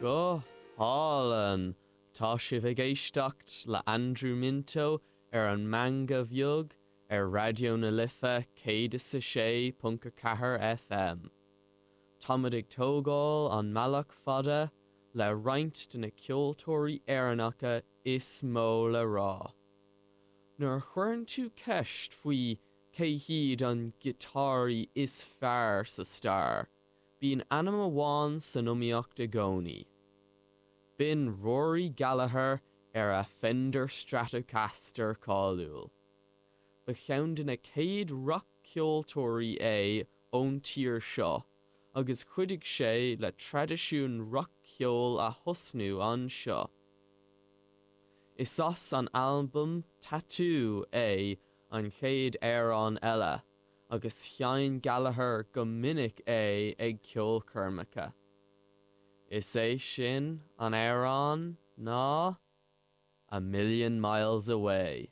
Go hálainn! Tá sibh ag éisteacht le Andrew Minto ar an Meangadh Bheag ar Raidió na Life 106.4 FM. Táimid ag tógáil an mbealach fada le roinnt de na ceoltóirí Éireannacha is mó le rá. Nuair a chuireann tú ceist faoi cé hiad an giotáraí is fearr sa stair, bíonn ainm amháin san iomaíocht i gcónaí. B'in Rory Gallagher ar a Fender Stratocaster cáiliúil. Ba cheann de na chéad rac-cheoltóirí é ón tír seo agus chuidigh sé le traidisiún rac-cheoil a thosnú anseo. Is as an albam Tattoo é an chéad amhrán eile agus sheinn Gallagher go minic é ag ceolchoirmeacha. Is é sin an amhrán ná A Million Miles Away.